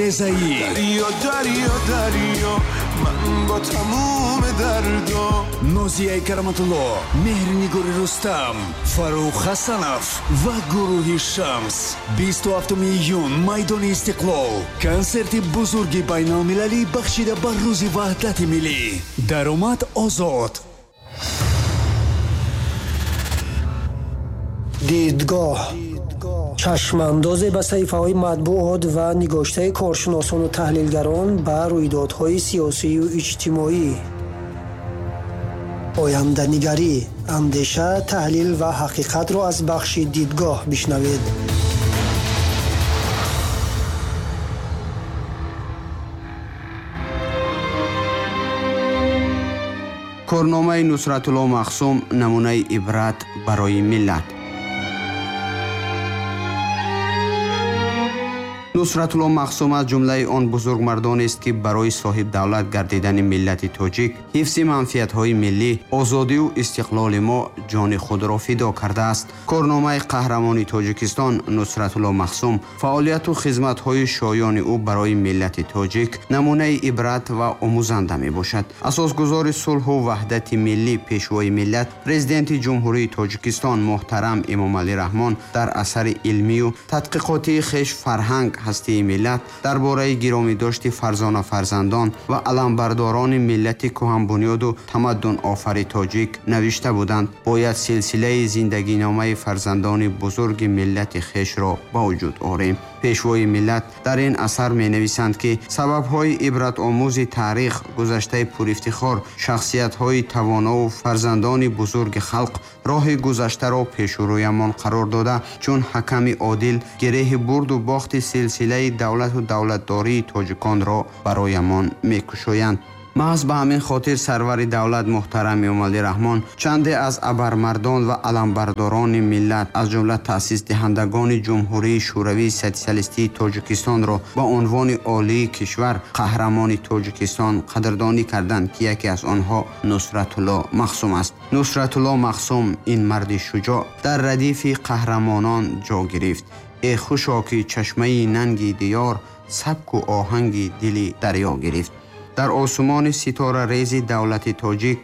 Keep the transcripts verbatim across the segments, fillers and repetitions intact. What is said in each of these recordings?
Резаӣ, Дарё, дарё, дарё, ман бо тамоми дардо. Нозияи Кароматулло, Меҳрнигори Рустам, Фаррух Ҳасанов ва гурӯҳи Шамс. Бисту ҳафтуми июн, майдони Истиқлол, консерти бузурги байналмилалӣ бахшида ба Рӯзи Ваҳдати Миллӣ. Даромад озод. Дидгоҳ, чашмандозе ба саҳифаҳои матбуот ва нигоштаи коршиносону таҳлилгарон ба рӯйдодҳои сиёсию иҷтимоӣ. Оянданигарӣ, андеша, таҳлил ва ҳақиқатро аз бахши дидгоҳ бишнавед. Корномаи Нусратулло Махсум намунаи ибрат барои миллат. Нусратулло Махсум аз ҷумлаи он бузургмардонест, ки барои соҳибдавлат гардидани миллати тоҷик, ҳифзи манфиатҳои миллӣ, озодиву истиқлоли мо ҷони худро фидо кардааст. Корномаи қаҳрамони Тоҷикистон Нусратулло Махсум, фаъолияту хизматҳои шоёни ӯ барои миллати тоҷик намунаи ибрат ва омӯзанда мебошад. Асосгузори сулҳу ваҳдати миллӣ, пешвои миллат, президенти Ҷумҳурии Тоҷикистон муҳтарам Эмомалӣ Раҳмон дар асари илмию тадқиқотии хеш «Фарҳанг ҳастии миллат» дар бораи гиромидошти фарзона фарзандон ва аламбардорони миллати кӯҳанбунёду тамаддунофари тоҷик навишта буданд: бояд силсилаи зиндагиномаи фарзандони бузурги миллати хешро ба вуҷуд орем. Пешвои миллат дар ин асар менависанд, ки сабабҳои ибратомӯзи таърих, гузаштаи пурифтихор, шахсиятҳои тавонову фарзандони бузурги халқ роҳи гузаштаро пешурӯямон қарор дода, чун ҳаками одил гиреҳи бурду бохти силсилаи давлату давлатдории тоҷиконро бароямон мекушоянд. Маҳз ба ҳамин хотир сарвари давлат муҳтарам Эмомалӣ Раҳмон чанде аз абармардон ва аламбардорони миллат, аз ҷумла таъсисдиҳандагони Ҷумҳурии Шӯравии Сотсиалистии Тоҷикистонро ба унвони олии кишвар қаҳрамони Тоҷикистон қадрдонӣ карданд, ки яке аз онҳо Нусратулло Махсум аст. Нусратулло Махсум, ин марди шуҷоъ, дар радифи қаҳрамонон ҷо гирифт. Э хушо, ки чашмаи нанги диёр сабку оҳанги дили дарё гирифт. Дар осумони ситорарези давлати тоҷик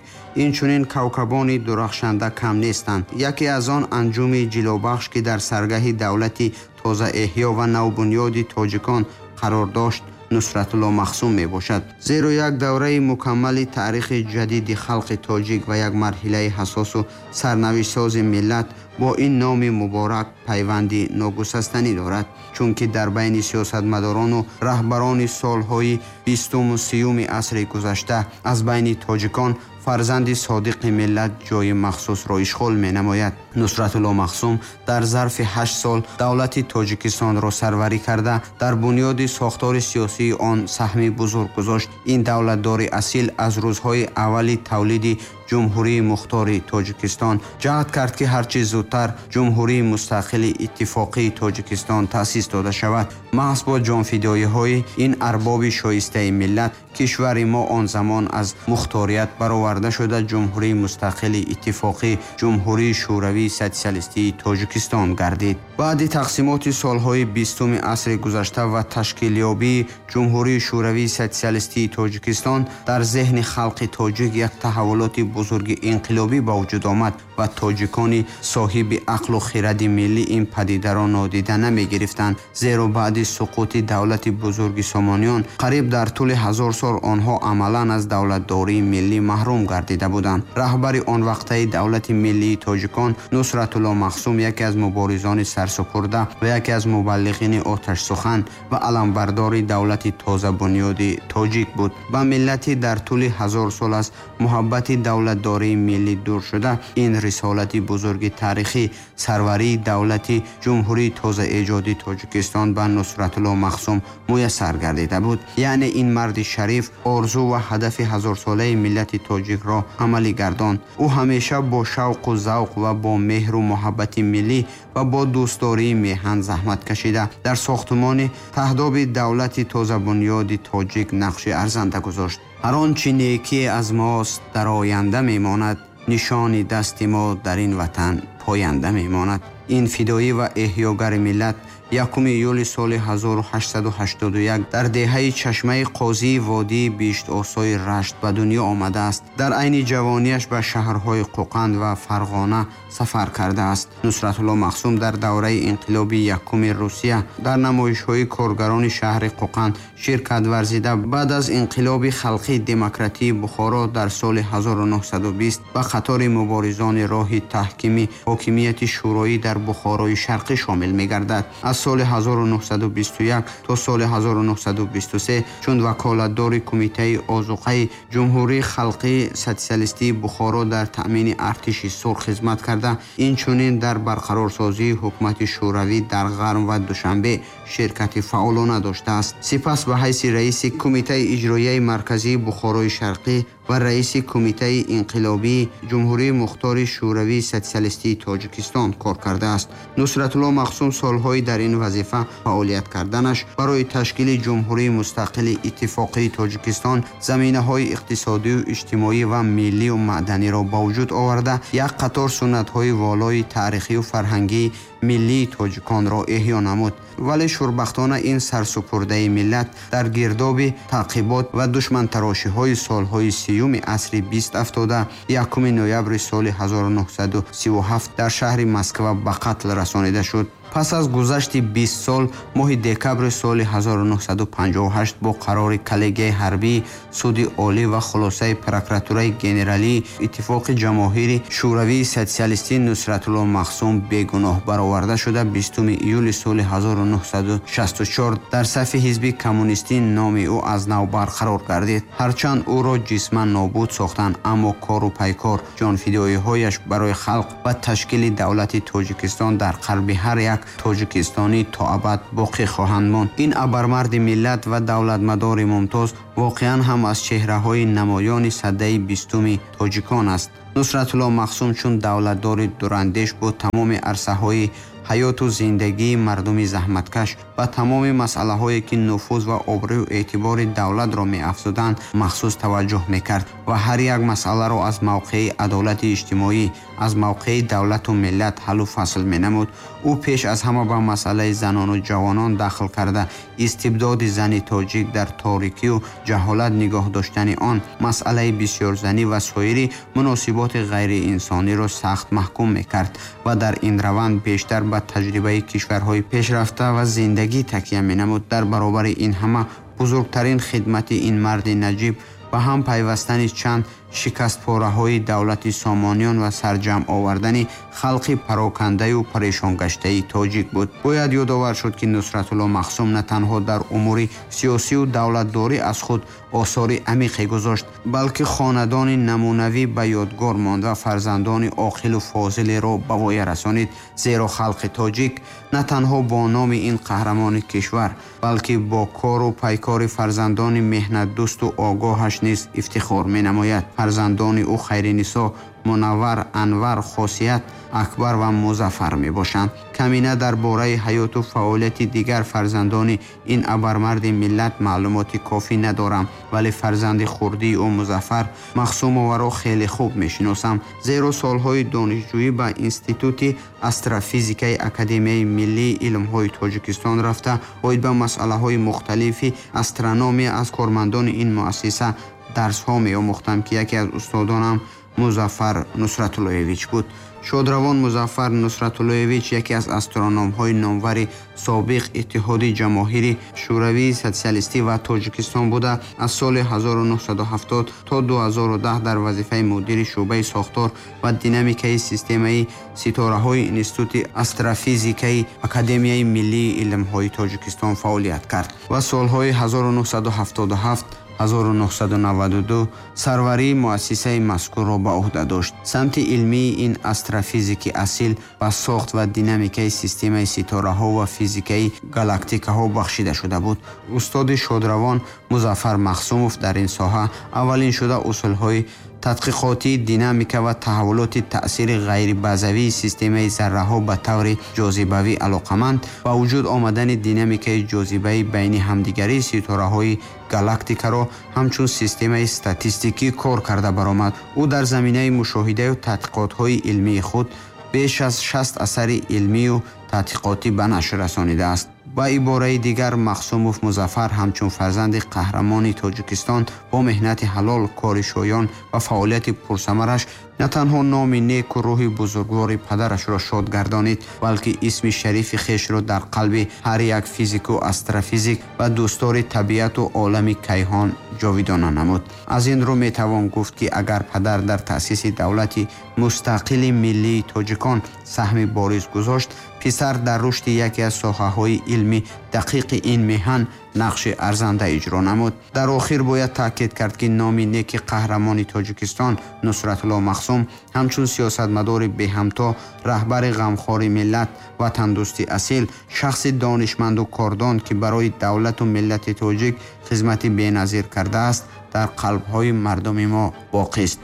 инчунин кавкабони дурахшанда кам нестанд. Яке аз он анҷуми ҷилобахш, ки дар саргаҳи давлати тозаэҳё ва навбунёди тоҷикон қарор дошт, Нусратулло Махсум мебошад. Зеро як давраи мукаммали таърихи ҷадиди халқи тоҷик ва як марҳилаи ҳассосу сарнавиштсози миллат бо ин номи муборак пайванди ногусастанӣ дорад, чунки дар байни сиёсатмадорону раҳбарони солҳои бистуму сиюми асри гузашта аз байни тоҷикон фарзанди содиқи миллат ҷои махсусро ишғол менамояд. Нусратулло Махсум дар зарфи ҳашт сол давлати Тоҷикистонро сарварӣ карда, дар бунёди сохтори сиёсии он саҳми бузург гузошт. Ин давлатдори асил аз рӯзҳои аввали тавлиди Ҷумҳурии Мухтори Тоҷикистон ҷаҳд кард, ки ҳарчи зудтар Ҷумҳурии Мустақили Иттифоқии Тоҷикистон таъсис дода шавад. Маҳз бо ҷонфидоиҳои ин арбоби шоистаи миллат кишвари мо он замон аз мухторият бароварда шуда Ҷумҳурии Мустақили Иттифоқӣ, Ҷумҳурии Шӯравии Сотсиалистии Тоҷикистон гардид. Баъди тақсимоти солҳои бистуми асри гузашта ва ташкилёбии Ҷумҳурии Шӯравии Сотсиалистии Тоҷикистон дар зеҳни халқи тоҷик як таҳаввулоти бузурги инқилобӣ ба вуҷуд омад ва тоҷикони соҳиби ақлу хиради миллӣ ин падидаро нодида намегирифтанд, зеро баъди суқути давлати бузурги Сомониён қариб дар тӯли ҳазор сол онҳо амалан аз давлатдории миллӣ маҳрум гардида буданд. Раҳбари он вақтаи давлати миллии тоҷикон Нусратулло Махсум яке аз муборизони сарсупурда ва яке аз мубаллиғини оташсухан ва аламбардори давлати тозабунёди тоҷик буд. Ба миллати дар тӯли ҳазор сол аз муҳаббати давлатдории миллӣ дур шуда, ин рисолати бузурги таърихӣ, сарварии давлати Ҷумҳурии тозаэҷоди Тоҷикистон ба Нусратулло Махсум муяссар гардида буд. Яъне ин марди шариф орзу ва ҳадафи ҳазорсолаи миллати тоҷикро амалӣ гардонд. Ӯ ҳамеша бо шавқу завқ ва бо меҳру муҳаббати миллӣ ва бо дӯстдории меҳан заҳмат кашида, дар сохтумони таҳдоби давлати тозабунёди тоҷик нақши арзанда гузошт. Ҳар он чӣ некие аз мост дар оянда мемонад, нишони дасти мо дар ин ватан поянда мемонад. Ин фидоӣ ва эҳёгари миллат, Якуми июли соли ҳазору ҳаштсаду ҳаштоду як дар деҳаи Чашмаи Қозии водии Биштосои Рашт ба дунё омадааст. Дар айни ҷавонияш ба шаҳрҳои Қӯқанд ва Фарғона сафар кардааст. Нусратулло Махсум дар давраи инқилоби якуми Русия дар намоишҳои коргарони шаҳри Қӯқанд ширкат варзида, баъд аз инқилоби халқии демократии Бухоро дар соли ҳазору нуҳсаду бист ба қатори муборизони роҳи таҳкими ҳокимияти шӯроӣ дар Бухорои Шарқӣ шомил мегардад. Аз соли ҳазору нуҳсаду бисту як то соли ҳазору нуҳсаду бисту се чун ваколатдори Кумитаи озуқаи Ҷумҳурии Халқии Социалистии Бухоро дар таъмини артиши сурх хизмат карда, инчунин дар барқарорсозии ҳукумати шӯравӣ дар Ғарм ва Душанбе ширкати фаъолона доштааст. Сипас ба ҳайси раиси Кумитаи иҷроияи марказии Бухорои Шарқӣ ва раиси Кумитаи инқилобии Ҷумҳурии Мухтори Шӯравии Социалистии Тоҷикистон кор кардааст. Нусратулло Махсум солҳои дар ин вазифа фаъолият карданаш барои ташкили Ҷумҳурии Мустақили Иттифоқии Тоҷикистон заминаҳои иқтисодию иҷтимоӣ ва миллию маъданиро ба вуҷуд оварда, як қатор суннатҳои волои таърихию фарҳангии миллии тоҷиконро эҳё намуд. Вале шурбахтона ин сарсупурдаи миллат дар гирдоби таъқибот ва душмантарошиҳои солҳои сиюми асри бист афтода, якуми ноябри соли ҳазору нуҳсаду сиву ҳафт дар шаҳри Москва ба қатл расонида шуд. Пас аз гузашти бист сол, моҳи декабри соли ҳазору нуҳсаду панҷоҳу ҳашт бо қарори коллегияи ҳарбии Суди Олӣ ва хулосаи прокуратураи генералии Иттифоқи Ҷамоҳири Шӯравии Социалистӣ Нусратулло Махсум бегуноҳ бароварда шуда, бистуми июли соли ҳазору нуҳсаду шасту чор дар сафи ҳизби коммунистӣ номи ӯ аз нав барқарор гардид. Ҳарчанд ӯро ҷисман нобуд сохтанд, аммо кору пайкор, ҷонфидоиҳояш барои халқ ва ташкили давлати Тоҷикистон дар қалби ҳар як тоҷикистонӣ то абад боқӣ хоҳанд монд. Ин абармарди миллат ва давлатмадори мумтоз воқеан ҳам аз чеҳраҳои намоёни садаи бистуми тоҷикон аст. Нусратулло Махсум чун давлатдори дурандеш бо тамоми арсаҳои ҳаёту зиндагии мардуми заҳматкаш ва тамоми масъалаҳое ки нуфуз ва обрӯю эътибори давлатро меафзуданд махсус таваҷҷӯҳ мекард ва ҳар як масъаларо аз мавқеи адолати иҷтимоӣ, аз мавқеи давлату миллат ҳаллу фасл менамуд. Ӯ пеш аз ҳама ба масъалаи занону ҷавонон дахл карда, истибдоди зани тоҷик дар торикию ҷаҳолат нигоҳ доштани он, масъалаи бисёрзанӣ ва соири муносиботи ғайриинсониро сахт маҳкум мекард ва дар ин раванд бештар ба таҷрибаи кишварҳои пешрафта ва зиндагӣ такя менамуд. Дар баробари ин ҳама бузургтарин хидмати ин марди наҷиб ба ҳам пайвастани чанд шикастпораҳои давлати Сомониён ва сарҷамъ овардани халқи парокандаю парешонгаштаи тоҷик буд. Бояд ёдовар шуд, ки Нусратулло Махсум на танҳо дар умури сиёсию давлатдорӣ аз худ осори амиқе гузошт, балки хонадони намунавӣ ба ёдгор монд ва фарзандони оқилу фозилеро ба воя расонид. Зеро халқи тоҷик на танҳо бо номи ин қаҳрамони кишвар, балки бо кору пайкори фарзандони меҳнатдӯсту огоҳаш низ ифтихор менамояд. Фарзандони ӯ Хайринисо, Мунаввар, Анвар, Хосият, Акбар ва Музаффар мебошанд. Камина дар бораи ҳаёту фаъолияти дигар фарзандони ин абармарди миллат маълумоти кофӣ надорам, вале фарзанди хурдии ӯ Музаффар Махсумоваро хеле хуб мешиносам, зеро солҳои донишҷӯӣ ба Институти астрофизикаи Академияи миллии илмҳои Тоҷикистон рафта, оид ба масъалаҳои мухталифи астрономия аз кормандони ин муассиса дарсҳо меомӯхтам, ки яке аз устодонам Музаффар Нусратуллоевич буд. Шодравон Музаффар Нусратуллоевич яке аз астрономҳои номвари собиқ Иттиҳоди Ҷамоҳири Шӯравии Социалистӣ ва Тоҷикистон буда, аз соли ҳазору нуҳсаду ҳафтод то ду ҳазору даҳ дар вазифаи мудири шӯъбаи сохтор ва динамикаи системаи ситораҳои Институти астрофизикаи Академияи миллии илмҳои Тоҷикистон фаъолият кард ва солҳои ҳазору нуҳсаду ҳафтоду ҳафт ҳазору нуҳсаду наваду ду сарварии муассисаи мазкурро ба уҳда дошт. Самти илмии ин астрофизики асил ба сохт ва динамикаи системаи ситораҳо ва физикаи галактикаҳо бахшида шуда буд. Устоди шодравон Музаффар Махсумов дар ин соҳа аввалин шуда усулҳои тадқиқотии динамика ва таҳаввулоти таъсири ғайрибазавии системаи зарраҳо ба таври ҷозибавӣ алоқаманд ба вуҷуд омадани динамикаи ҷозибаи байни ҳамдигарии ситораҳои галактикаро ҳамчун системаи статистикӣ кор карда баромад. Ӯ дар заминаи мушоҳидаю тадқиқотҳои илмии худ беш аз шаст асари илмию тадқиқотӣ ба нашр расонидааст. Ба ибораи дигар, Махсумов Музаффар ҳамчун фарзанди қаҳрамони Тоҷикистон бо меҳнати ҳалол, кори шоён ва фаъолияти пурсамараш на танҳо номи неку рӯҳи бузургвори падарашро шод гардонид, балки исми шарифи хешро дар қалби ҳар як физику астрофизик ва дӯстдори табиату олами кайҳон ҷовидона намуд. Аз ин рӯ метавон гуфт, ки агар падар дар таъсиси давлати мустақили миллии тоҷикон саҳми бориз гузошт, писар дар рушди яке аз соҳаҳои илми дақиқи ин меҳан нақши арзанда иҷро намуд. Дар охир бояд таъкид кард, ки номи неки қаҳрамони Тоҷикистон Нусратулло Махсум ҳамчун сиёсатмадори беҳамто, раҳбари ғамхори миллат, ватандӯсти асил, шахси донишманду кордон, ки барои давлату миллати тоҷик хизмати беназир кардааст, дар қалбҳои мардуми мо боқист.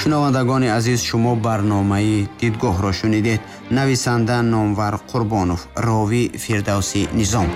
Шунавандагони азиз, шумо барномаи Дидгоҳро шунидед. Нависанда Номвар Қурбонов, ровӣ Фирдавсӣ Низом.